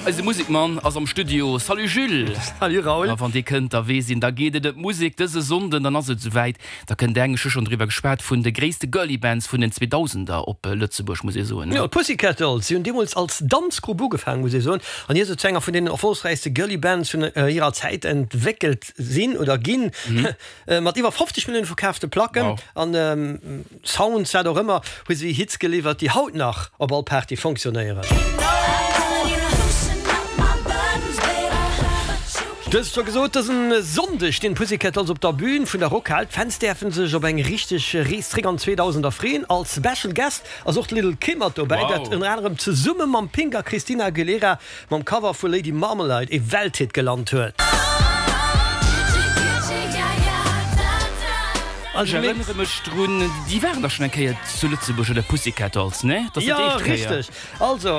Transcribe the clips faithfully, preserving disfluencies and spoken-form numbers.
Eise Musekmann ass am Studio. Salut Jules! Salut Raoul! A wann dee kënnt, da weess een, da geet et ëm d'Musek. Dëse Sonnden, dann ass et esouwäit, da kënnt eng, ech hu schonn driwwer geschwat, vun de gréisste Girly Bands vun den Zweedausender op Lëtzebuerg, muss ee soen. Jo, d'Pussycat Dolls, si hunn deemools als Danzgrupp ugefaangen, muss ee soen, an ier se zu enger vun deenen erfollegräichste Girly Bands vun hirer Zäit entwéckelt sinn oder ginn, mat iwwer fofzeg Millioune verkaafte Placken an Sounds, wat och ëmmer, hu si Hits geliwwert, déi haut nach op all Party fonctionnéieren. Dëst scho gesot, dësen Sonndeg stinn d'Pussycat Dolls op der Bühn vun der Rockhal. D'Fans däerfen sech op eng richteg Rees zréck an d'Zweedausender freeën. Als Special Guest ass och d'Little Kim mat dobäi, dat ënner anerem zesumme mam Pink a Christina Aguilera mam Cover vu Lady Marmalade ee Welthit gelant huet. Ech erënnere mech drun, déi waren dach schonn eng Kéier zu Lëtzebuerg, oder Pussycat Dolls, ne? Dat ass net déi éischt Kéier. Jo, richteg. Also,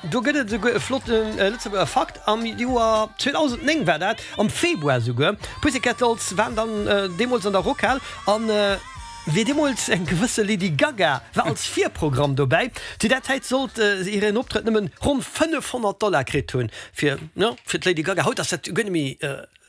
do gëtt et esouguer e flotte Lëtzebuerger Fakt. Am Joer zweedausendnéng war dat, am Februar esouguer. D'Pussycat Dolls waren dann deemools an der Rockhal an wéi deemools eng gewësse Lady Gaga war als Virprogramm dobäi. Zu där Zäit sollt se hiren Optrëtt nëmmen ronn fënnefhonnert Dollar kritt hunn, fir, jo, fir d'Lady Gaga. Haut ass dat guer net méi.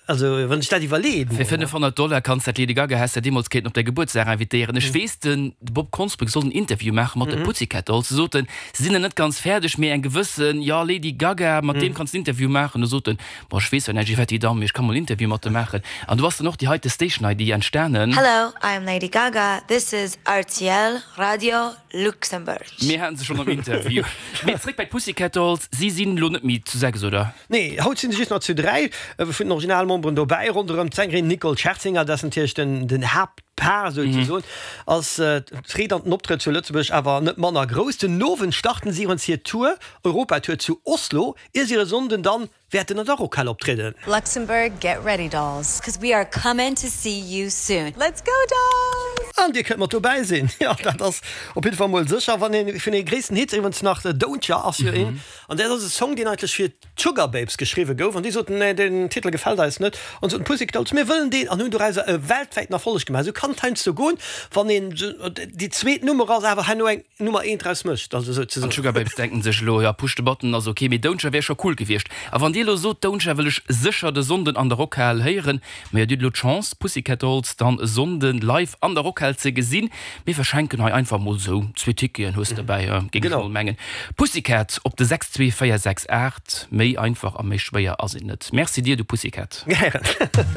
Also wann ech dat iwwerleeën. Fir fënnefhonnert Dollar kanns dat Lady Gaga häss de deemools kéinten op däi Gebuertsdag invitéieren. Ech weess den Bob Konsbrück sollt en Interview maache mat de Pussycat Dolls. Se soten, se sinn nach net ganz fäerdeg, mee eng gewëssen, jo, Lady Gaga, mat deem kanns de en Interview maachen. Du sot en, bon, ech weess zwar näischt iwwert déi Damm, mee ech ka mol en Interview mat der maachen. An do ass dann och déi heite Station I D entstanen. Hello, I am Lady Gaga, this is R T L Radio Luxembourg. Mir haten se schonn am Interview. Mee zréck bei d'Pussycat Dolls, si sinn elo net méi zu sechs, oder? Nee, haut sinn se just nach zu dräi vun den Originalmemberen dobäi. Ronderëm d'Sängerin Nicole Scherzinger, dat ass natierlech den den Haaptpaar souzesoen, ass d'Freed an den Optrëtt zu Lëtzebuerg awer net manner grouss. Den Owend starten si iwwerens hir Tour, Europatour zu Oslo, ier si e Sonnden dann wäerten an der Rockhal optrieden. Luxembourg, get ready dolls, cause we are comin' to see you soon. Let's go dolls! An dir kënnt mat dobäi sinn, jo dat ass op jidde Fall mol sécher. Wann een vun de gréissten Hits iwwerens nach Don't Ya ass jo een, an dat ass e Song deen eigentlech fir d'Sugababes geschriwwe gouf, an déi soten, nee den Titel gefält eis net, an soten d'Pussycat Dolls, mir wëllen deen, an hunn dorauser e weltwäiten Erfolleg gemaach. Esou kann et heiansdo goen, wann een déi zweet Nummer ass, awer herno eng Nummer eent draus mécht, also esou ze soen. An d'Sugababes denken sech elo, jo Push the Button ass ok, mee Don't Ya wär scho cool gewiescht. A wann dir elo sot, Don't Ya wëll ech sécher de Sonnden an der Rockhal héieren, majo dir hutt elo d'Chance d'Pussycat Dolls dann e Sonnden live an der Rockhal ze gesinn. Mir verschenken hei einfach mol sou zwee Ticketen, hues de derbäi, géing ech mol mengen. Pussycat op de sechs zwee véier sechs aacht, méi einfach a méi schwéier ass et net. Merci dir, du Pussycat. Gären.